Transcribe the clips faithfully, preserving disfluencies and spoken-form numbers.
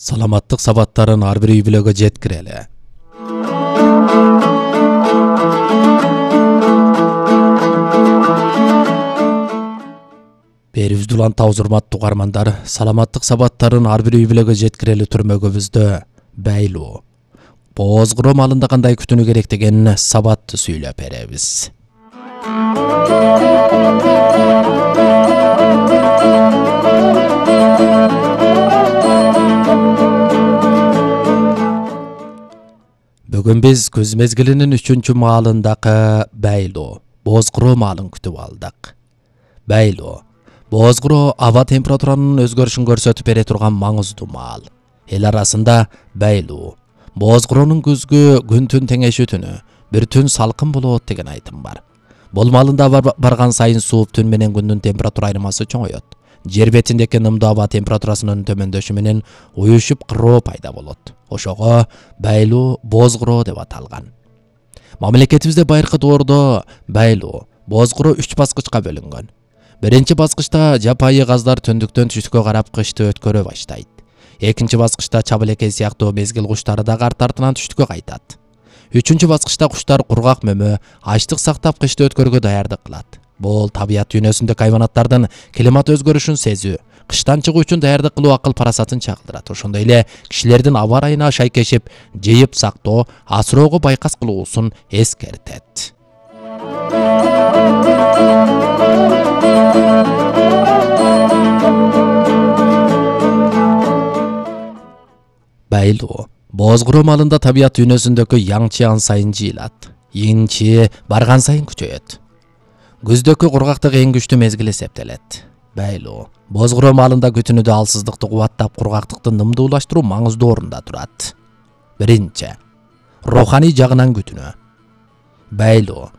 Саламаттык сабаттарын ар бир үй бүлөгө жеткирели. Берибизди улан табыз урматтуу угармандар, саламаттык сабаттарын ар бир үй бүлөгө жеткирели түрмөгүбүздө байлуу, боозгуроо малында кандай күтүнүү керек деген сабатты сүйлөп беребиз. Бүгүн биз күз мезгилинин үчүнчү маалындагы байлуу, боозгуроо маалын күтүп алдык. Байлуу, боозгуроо аба температуранын өзгөрүшүн көрсөтүп бере турган маңыздуу маал. Эл арасында байлуу, боозгуроонун күзгү күн-түн теңешүүтүнү, бир түн салкын болот деген айтым бар. Бул маалында бар, барган сайын сууп түн менен күндүн температура айырмасы чоңойот. Жер бетиндеки нымдуу аба температурасынын төмөндөшү менен уюшуп кыроо пайда болот. Ошого байлуу, боозгуроо деп аталган. Мамлекетибизде байыркы доордо байлуу, боозгуроо үч баскычка бөлүнгөн. Биринчи баскычта жапайы газдар түндүктөн түштүккө карап кышты өткөрө баштайт. Экинчи баскычта чабылекей сыяктуу мезгил куштары да арт артынан түштүккө кайтат. Үчүнчү баскычта куштар кургак мөмө, ачлык сактап кышты өткөрүүгө даярдык кылат. Бул табият дүйнөсүндөгү хайванаттардын климат өзгөрүшүн сезүү, кыштан чыгуу үчүн даярдык кылуу акыл парасатын чагылдырат. Ошондой эле кишилердин аба ырайына шайкешип, жыйып сактоо, асыроого байкас кылуусун эскертет. Байлуу, боозгуроо маалында табият дүйнөсүндөгү яңчы ан сайын жыйылат, инчи барган сайын күчөйөт. Күздөгү кургактык эң күчтүү мезгил эсептелет. Байлуу, боозгуроо маалында күтүнүүдө алсыздыкты кубаттап, кургактыкты нымдуулаштыруу маңыздуу орунда турат. Биринчи, руханий жагынан күтүнүү. Байлуу,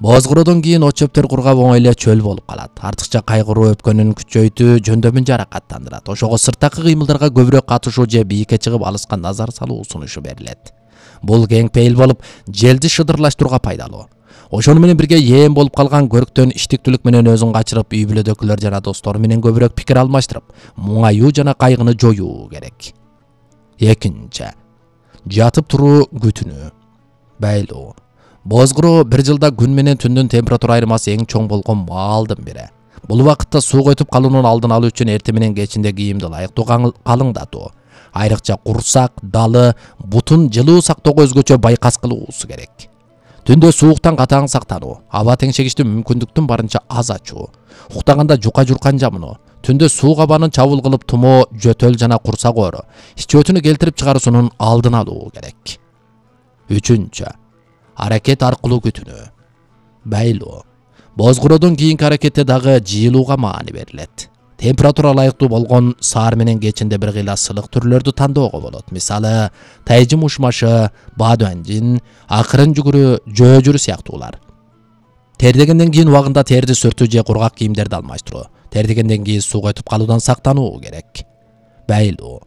боозгуроодон кийин от чөптөр кургап оңой эле чөл болуп калат. Артыкча кайгыруу өпкөнүн күчөйтүү, жөндөмүн жаракаттандырат. Ошого сырттагы кыймылдарга көбүрөөк катышуу же бийикке чыгып алыска назар салуу сунушу берилет. Бул кең пейил болуп, желди шыдырлаштырууга пайдалуу. Ошону менен бирге ээн болуп калган көрктөн иштиктүүлүк менен өзүн качырып, үй бүлөдөгүлөр жана достору менен көбүрөөк пикир алмаштырып, муңаюу жана кайгыны жоюу керек. Экинчи, жатып туруу күтүнүү. Байлуу, боозгуроо бир жылда күн менен түндүн температура айырмасы эң чоң болгон маалдын бири. Бул убакытта сууга өтүп калуунун алдын алуу үчүн эртең менен кечинде кийимди ылайыктуу калыңдатуу, айрыкча курсак, далы, бутун жылуу сактоого өзгөчө байкас кылуусу керек. Түндө сууктан катаң сактануу, аба теңшегичти мүмкүндүктүн барынча аз ачуу, уктаганда жука журкан жамынуу, түндө суук абанын чабыл кылып тумоо, жөтөл жана курсак оору, ич өтүнү келтирип чыгаруусунун алдын алуу керек. Үчүнчү, аракет аркылуу күтүнүү. Байлуу, боозгуроодон кийинки аракетте дагы жыйылууга маани берилет. Температура ылайыктуу болгон саар менен кечинде бир кыйла сылык түрлөрдү тандоого болот. Мисалы, тайжым ушмашы, бадуанжин, акырын жүгүрү, жөөжүрү сыяктуулар. Тердегенден кийин убагында терди сүртүү же кургак кийимдерди алмаштыруу. Тердегенден кийин сууга өтүп калуудан сактануу керек. Байлуу,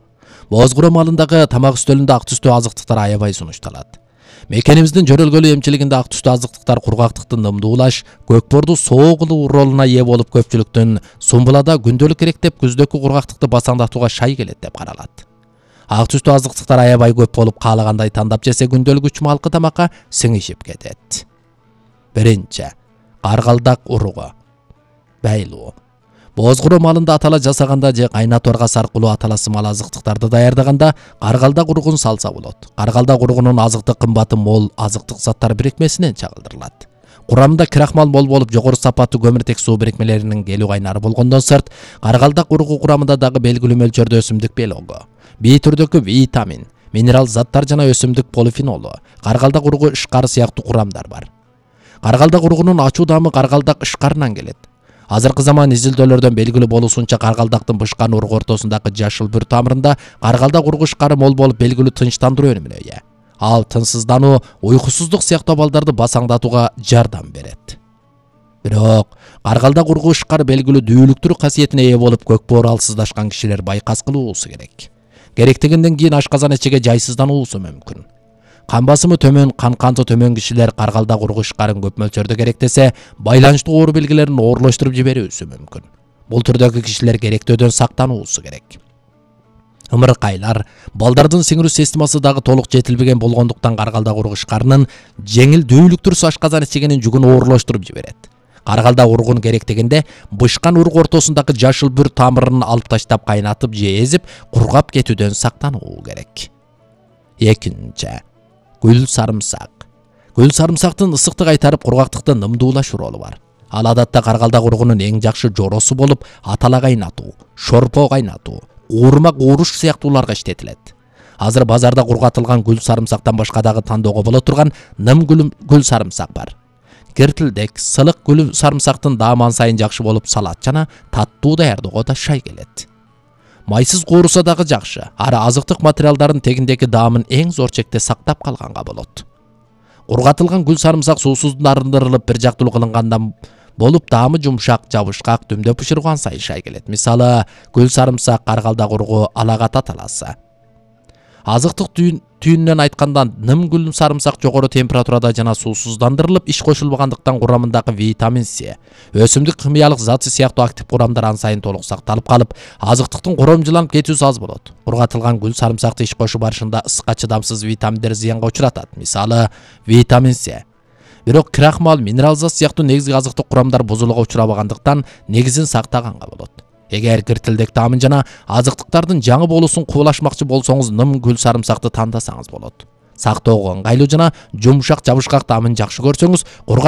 боозгуроо маалындагы тамак үстөлүндө ак түстүү азыктыктар аябай сунушталат. Мекенибиздин жөрөлгөлүү эмчилигинде ак түстүү азыктыктар кургактыкты нымдуулаш, көкборду соо кылуу ролуна ээ болуп, көпчүлүктүн сумбулада күндөлүк керектеп, күздөгү кургактыкты басаңдатууга шай келет деп каралат. Ак түстүү азыктыктар аябай көп болуп, каалагандай тандап жесе күндөлүк үч малкы тамакка сиңишип кетет. Биринчи, каргалдак уругу. Байлуу, боозгуроо маалында атала жасаганда же кайнатуарга саркылуу аталасы мал азыктыктарды даярдаганда каргалдак уругун салса болот. Каргалдак уругунун азыктык кымбаты мол азыктык заттар бирикмесинен чагылдырылат. Курамында крахмал мол болуп, жогору сапаттуу көмүртек суу бирикмелеринин келүү кайнары болгондон сырт, каргалдак уругу курамында дагы белгилүү мөлчөрдө өсүмдүк белогу, бий түрдөгү витамин, минерал заттар жана өсүмдүк полифенолу, каргалдак уругу ышкары сыяктуу курамдар бар. Каргалдак уругунун ачуу даамы каргалдак ышкарынан келет. Азыркы заман изилдөөлөрдөн белгилүү болуусунча, каргалдактын бышкан уругу ортосундагы жашыл бүр тамырында каргалдак уругу ышкары мол болуп, белгилүү тынчтандыруу өнүмүнө ээ. Ал тынчсыздануу, уйкусуздук сыяктуу абалдарды басаңдатууга жардам берет. Бирок, каргалдак уругу ышкары белгилүү дүүлүктүрүк касиетине ээ болуп, көкбоор алсыздашкан кишилер байкас кылуусу керек. Керектегенден кийин ашказан ичиге жайсыздануусу мүмкүн. Кан басымы төмөн, кан канты төмөн кишилер каргалдак уругу ышкарын көп мөлчөрдө керектесе, байланыштуу оору белгилерин оорлоштуруп жиберүүсү мүмкүн. Бул түрдөгү кишилер керектөөдөн сактануусу керек. ымыркайлар, балдардын сиңирүү системасы дагы толук жетилбеген болгондуктан каргалда урук ишкарынын жеңил дүүлүктүр ашказан ичигенин жүгүн оорлоштуруп жиберет. Каргалда ургун керек дегенде бышкан урук ортосундагы жашыл бүр тамырын алып таштап кайнатып же эзип кургап кетүүдөн сактануу керек. Экинчи, гүл сарымсак. Гүл сарымсактын ысыктык кайтарып кургактыкты нымдуулаш ролу бар. Ал адатта каргалда ургунун эң жакшы жоросу болуп, атала кайнатуу, шорпо кайнатуу, уурма кууруш сыяктууларга иштетилет. Азыр базарда кургатылган гүл сарымсактан башка дагы тандоого боло турган ным гүл сарымсак бар. Кертилдек, сылык гүл сарымсактын дааман сайын жакшы болуп, салат жана таттуу даярдоого да шай келет. Майсыз кууруса дагы жакшы. Ары азыктык материалдардын тегиндеги даамын эң зор чекте сактап калганга болот. Кургатылган гүл сарымсак суусуз арындырылып бир жактуу кылынгандан болуп, даамы жумшак, жабышкак, дүмдөп бышырган сайын шай келет. Мисалы, гүл сарымсак каргалда ургу алагат аталасы. Азыктык түйүнүнөн айтканда, ным гүл сарымсак жогору температурада жана суусуздандырылып, иш кошулбагандыктан курамындагы витамин С, өсүмдүк химиялык заты сыяктуу актив курамдар ан сайын толук сакталып калып, азыктыктын коромжуланып кетүүсү аз болот. Кургатылган гүл сарымсакты иш кошуу барышында ысыкка чыдамсыз витаминдер зыянга учуратат. Мисалы, витамин С. Бирок крахмал, минералза сыяктуу негизги азыктык курамдар бузулууга учурабагандыктан негизин сактаганга болот. Эгер киртилдек таамын жана азыктыктардын жаңы болуусун кубулашмакчы болсоңуз, ным гүл сарымсакты тандасаңыз болот. Сактоого ыңгайлуу жана жумшак, жабышкак таамын жакшы көрсөңүз,